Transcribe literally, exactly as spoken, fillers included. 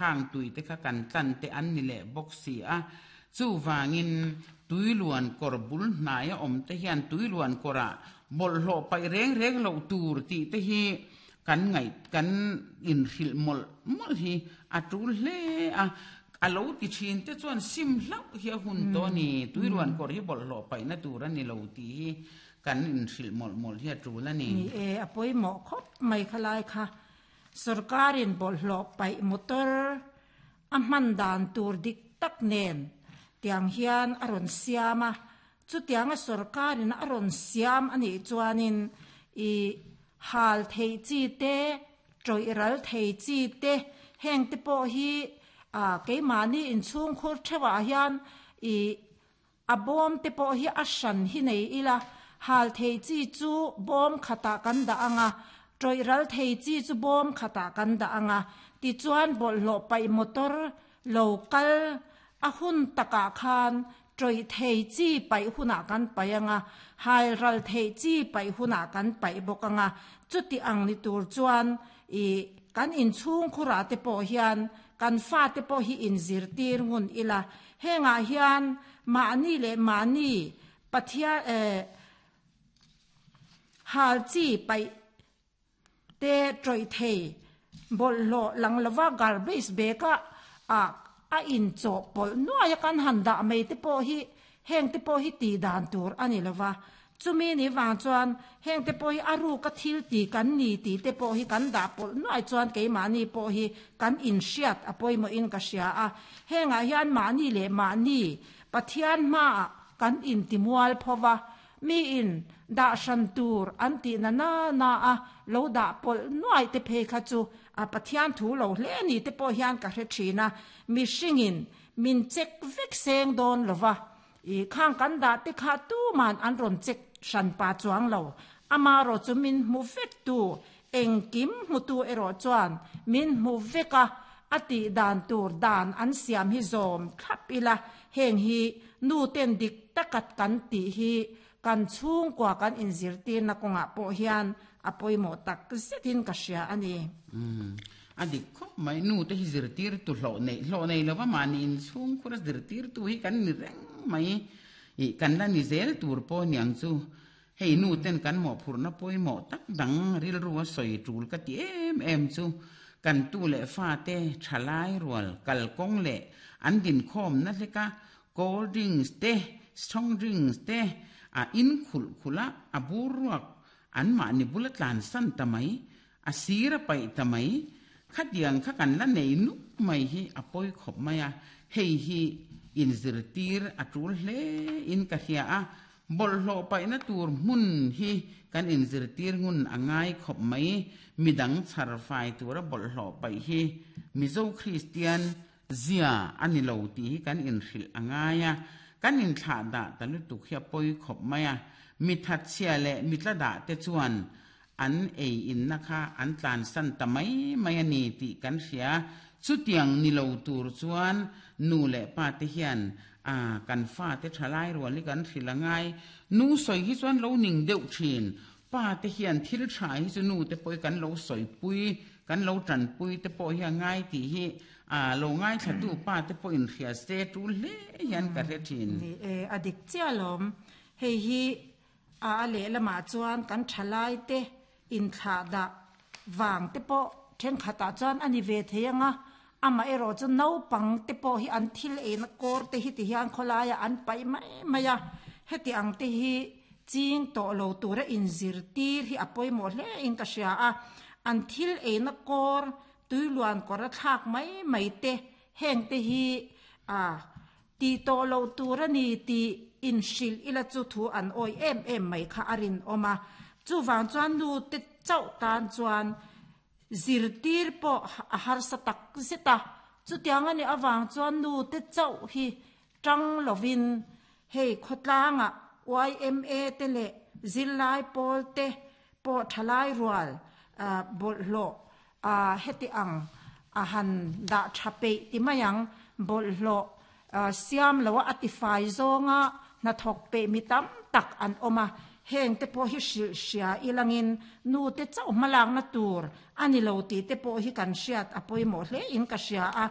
Khang tui te kha kan tlan te an ni leh bawk si a, chuvangin tuiluan kawr bul hnaia awm te hian tuiluan kawrah bawlhhlawh paih reng reng loh tur tih te hi kan ngaih kan inhrilh mawlh mawlh hi a tul hle a, a lo ti thin te chuan sim hlauh hi a hun tawh a ni, tuiluan kawr hi bawlhhlawh paihna tur a ni lo tih hi kan inhrilh mawlh mawlh hi a tul a ni. Ni e, a pawimawh khawp mai khalai kha. Sorkarin bawlhhlawh paih motor a hman dan tur dik tak nen tiang hian a rawn siam a, chutianga sorkarin a rawn siam a nih chuanin i hal theih chi te, tawih ral thei chi te, heng te pawh hi a keimahni inchhungkhur theuhah hian i a bawm te pawh hi a hran hi nei ila, hal thei chi chu bawm khatah kan dah ang a, tawih ral thei chi chu bawm khatah kan dah ang a, tichuan bawlhhlawh paih motor lo kal a hun takah khan tawih thei chi paih hunah kan paih ang a, hal ral theih chi paih hunah kan paih bawk ang a, chuti ang ni tur chuan i kan inchhungkhurah te pawh hian kan fate pawh hi inzirtir ngun ila, hengah hian mahni leh mahni Pathian eh hal chi paih te tawih thei bawlhhlawh lang lova garbage bag a ah a inchawhpawlh nuai a kan han dah mai te pawh hi heng te pawh hi tih dan tur a ni lova, chumi ni vang chuan heng te pawh hi a ruka thil ti kan ni tih te pawh hi kan dah pawlh nuai chuan keimahni pawh hi kan inhriat a pawimawhin ka hria a, hengah hian mahni leh mahni Pathian hmaah kan intimual pho va, mi in dah hran tur an tih na na na a lo dah pawlh nuai te phei kha chu a Pathian thu lo hle ni te pawh hian ka hre thin a, mihringin min check vek seng dawn lo va, i khang kan dah te kha tuman an rawn check hran pa chuang lo, amarawh chu min hmu vek tu, engkim hmutu erawh chuan min hmu vek a, a tih dan tur dan an siam hi zawm thlap ila, heng hi nu ten dik taka kan tih hi kan chhungkua kan inzirtirna kawngah pawh hian a pawimawh tak zetin ka hria a ni. Umm, a dik khawp mai. Nu te hi zirtirtu hlawh neih hlawh nei lova mahni inchhungkhura zirtirtu hi kan ni reng mai. Ih, kan la ni zel tur pawh niang chu. Hei nu ten kan mawhphurhna pawimawh tak dang rilru a sawi tul ka ti em em chu kan tu leh fate thalai rual kalkawng leh an dinkhawmna hleka cold drinks te, strong drinks te a in khulh khulh a, a bur ruak anmahni bula tlansan ta mai, a sir a paih ta mai, khatiang kha kan la nei nuk mai hi a pawi khawp mai a, hei hi inzirtir a tul hle in ka hria a, bawlhhlawh paihna tur hmun hi kan inzirtir ngun a ngai khawp mai, midang chhar fai tura bawlhhlawh paih hi Mizo Kristian zia a ni lo tih hi kan inhrilh a ngai a, kan inthlah dah ta lutuk hi a pawi khawp mai a, mi thatchhia leh mi tla dah te chuan an ei inna kha an tlansan ta mai mai a ni tih kan hria. Chutiang ni lo tur chuan nu leh pa te hian a kan fate thalai rual hi kan hrilh a ngai. Nu sawi hi chuan lo ning deuh thin. Pa te hian thil tha hi chu nu te pawh hi kan lo sawipui, kan lo tanpui te pawh hi a ngai tih hi a lo ngaithlatu pa te pawh inhria se tul hle hian ka hre thin. Ni e, a dik chiah alawm. Hei hi a a lehlamah chuan kan thalai te inthlah dah vang te pawh thenkhatah chuan a ni ve thei ang a, amaherawh chu naupang te pawh hi an thil eina kawr te hi ti hian khawlaiah an paih mai mai a, heti ang te hi ching tawh lo tura inzirtir hi a pawimawh hle in ka hria a, an thil eina kawr tuiluan kawr a thlak mai mai te heng te hi a ti tawh lo tur a ni tih inhrilh ila chu thu an awih em em mai kha a rinawm a, chuvang chuan nu te chauh tan chuan zirtir pawh a harsa tak zet a, chutiang a nih avang chuan nu te chauh hi tang lovin hei khawtlangah Y M A te leh zirlai pawl te pawh thalai rual bawlhhlawh heti ang a han dah tha peih ti mai ang, bawlhhlawh siam loa a tifai zawnga hnathawk peih mi tam tak an awm a, heng te pawh hi hrilh hria ilangin nu te chauh hmalakna tur a ni lo tih te pawh hi kan hriat a pawimawh hle in ka hria a.